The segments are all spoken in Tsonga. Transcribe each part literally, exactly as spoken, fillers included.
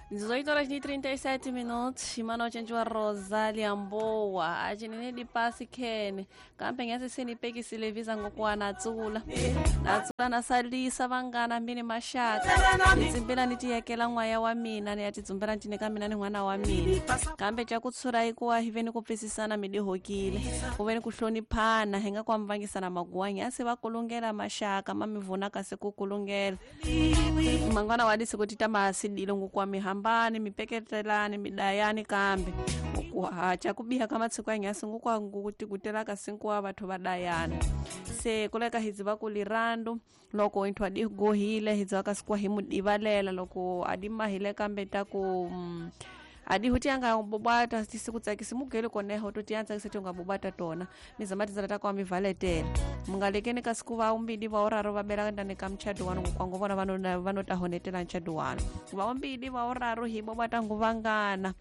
dezoito horas e trinta e sete minutos. Imano chenjwa Rosalia Mbowa achinene dipasi khene kambe ngase senipekisile visa ngokuwa natsula natsula nasalisa vangana mbini maxaka nitsimbela ni tiyekela n'waya wa mina ni ya tidzumbela ncine ka mina ni n'wana wa mina kambe ca ku tshura ikuwa hi ve ni ku pfisisana mi dihokile ku ve ni ku hloniphana hi nga ku ambangisana maguwanyi a se va kulungela maxaka ma mi vunaka se ku kulungela mangwana wa disiku ti ta masidile ngokuwa mi hambani mi peketelani mi dayani kambe kuhacha kubiha ka matsiko ya nyasi ngukwangu kuti kutelaka sinkuwa vathu va dayana se kuleka hi dziva ku lirandu loko inthu adi gohile hi dziva kasi kuwa hi mu divalela loko adi mahile kambe ta ku mm, adi huti anga bobata tisi kutsakisi mugele koneho to tiyantsakisa ti unga bobata tona mizama tindzela ta kwa mi valetela mungalekeni kasi ku va umbili va uraro va bela ndani ka muchado wanu kwangu vona vano vano ta honetela muchado wanu va umbili va uraro hi bobata nguvangana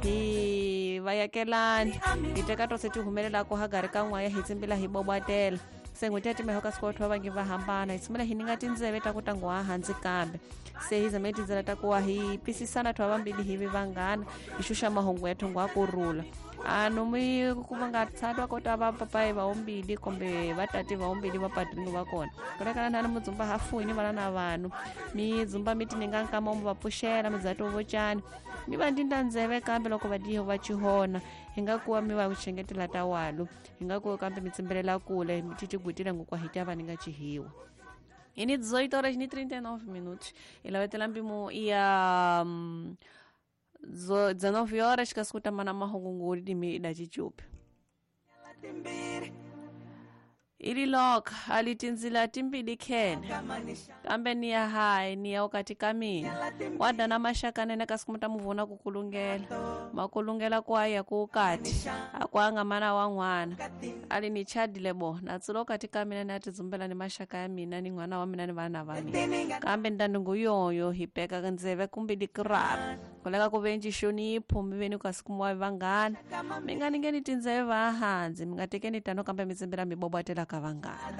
hi vayakelani hi teka tose ti humelelako hagari ka n'waya hi tsimbila hi bobatela se n'hweti ya timeho ka siku vathu va vangi va hambana hi tshumela hi ninga tindzeve ta ku tanguwa hansi kambe se hi zame tindzela ta kuwa hi pisisana thwa vambili hi vi vanghana hi xuxa mahungu ya thongo a kurhula ano mi ku va nga tshatwa kota va papayi va umbili kumbe va tati va umbili va padringo va kona kulekana nani mudzumba hafuini vana na vanhu mi dzumba mi tininga nkama mu va pfuxela mi dza tovocani mi va ndinda ndzeve kambe loko va diho va chihona hi nga kuwa mi va kuchengetela ta walu hi nga kuwa kambe mi tsimbelela kule mi titigwitile ngokwa hi ta va ni nga chihiwa ini dezoito horas e trinta e nove minutos ilavetela mpimo ya um, dezenove horas kasi kutamana mahungu dimi ida chichupi ili loka alitinzila timbili khene kambe ni ya hayi ni ya ukati ka mina wada na maxaka nene kasi kumuta muvona kukulungela makulungela kwaya ku ukati akwanga mana wa n'wana ali ni chadile bo natsula ukati ka mina ni atidzumbela ni maxaka ya mina ni n'wana wa mina ni vana va mina kambe ndandungu yoyo hi peka ndzeve kumbe dikirara kuleka ku venji xonipho mi veni kasi kumuwa vanghana mi nga ningeni tindzeve va hansi mi nga tekeni tano kambe mi tsimbela mi bobatela ka vanghana.